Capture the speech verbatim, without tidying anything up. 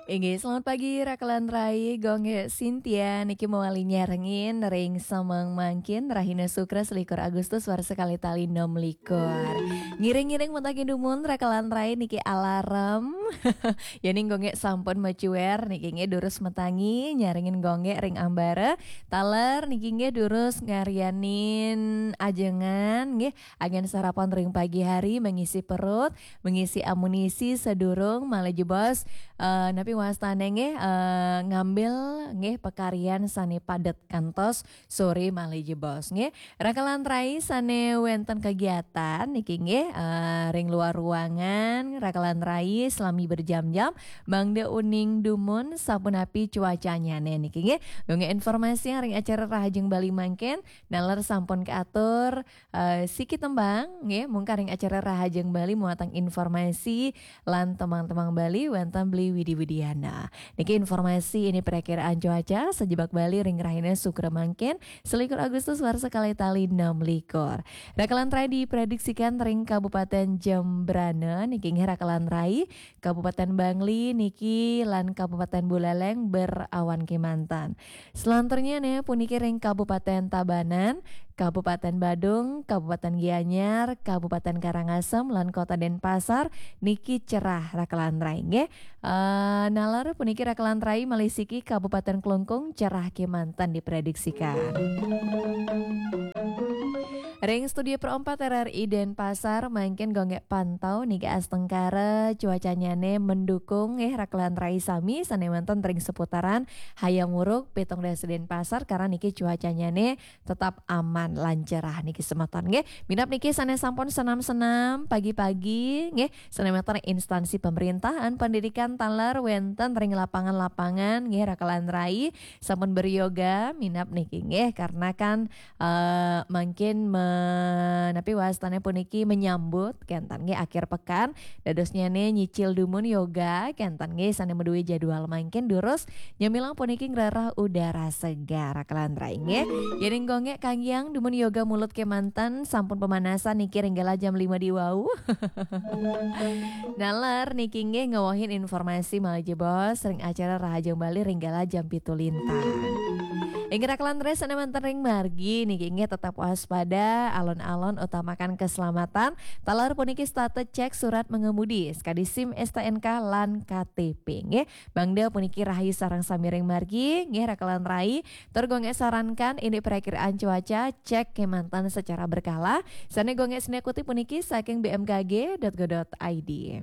Inggih, selamat pagi, Rakelan Rai, Gung Gé Cynthia, niki mawali nyarengin ring semeng mangkin, rahina Sukra selikur Agustus, warsa kalih tali enem likur. Ngiring-ngiring matangi dumun, Rakelan Rai, niki alarm. Yéning Gung Gé sampun macuér, niki nggih durus matangi, nyarengin Gung Gé ring ambara. Taler niki nggih durus ngaryanin ajengan, nggih, anggén sarapan ring pagi hari, mengisi perut, mengisi amunisi sadurung malih jebos, eh, napi wastané nggih, eh, ngambil nggih pakaryan sané padet kantos soré malih jebos nggih. Rakelan Rai sané wénten kegiatan niki nggih, eh, ring luar ruangan, Rakelan Rai selami berjam-jam, mangda uning dumun sapunapi cuacannyané niki nggih. Gung Gé informasi ring acara Rahajeng Bali mangkin, naler sampun kaatur, eh, siki tembang, nggih, mungkar ring acara Rahajeng Bali muatang informasi lan tembang-tembang Bali wénten Beli Widi Widiana. Niki informasi indik perakiraan cuaca sajebag Bali ring rahina Sukra mangkin, selikur Agustus warsa kalih tali enem likur. Rakelan Rai diprediksikan ring Kabupaten Jembrana, niki nggih Rakelan Rai, Kabupaten Bangli niki lan Kabupaten Buleleng berawan kémanten. Selanturnyané puniki ring Kabupaten Tabanan, Kabupaten Badung, Kabupaten Gianyar, Kabupaten Karangasem, lan Kota Denpasar niki cerah Rakelan Rai nggih. Eh, naler puniki Rakelan Rai malih siki Kabupaten Klungkung cerah kémanten diprediksikan. Ring Studio Pro empat R R I Denpasar, mangkin Gung Gé pantau niki astungkara cuacannyané mendukung nggih Rakelan Rai sami sané wénten ring seputaran Hayam Wuruk, Pitung Dasa Denpasar, karena niki cuacannyané tetap aman lan cerah niki semeton nggih. Minab niki sané sampun senam-senam pagi-pagi nggih, sané wénten instansi pemerintahan, pendidikan taler wénten ring lapangan-lapangan nggih Rakelan Rai sampun beryoga minab niki nggih, karena kan eh, mangkin me-, napi wastané puniki menyambut kénten nggih akhir pekan. Dadosnyané nyicil dumun yoga kénten nggih sané madué jadwal mangkin durus nyamilang puniki ngrereh udara segar Rakelan Rai nggih. Yéning Gung Gé kanggiang dumun yoga mulut kémanten sampun pemanasan niki ring galah jam lima di wau. Naler niki nggih ngawehin informasi malih jebos ring acara Rahajeng Bali ring galah jam pitu lintang. Inggih Rakelan Rai sané wénten ring margi niki nggih tetap waspada, alon-alon utamakan keselamatan. Taler puniki setata cek surat mengemudi, sakadi SIM, STNK, lan KTP nggih. Mangda puniki rahayu sareng sami ring margi nggih Rakelan Rai. Tur Gung Gé sarankan indik perakiraan cuaca, cek kémanten secara berkala. Sané Gung Gé sinekuti puniki saking B M K G dot go dot I D.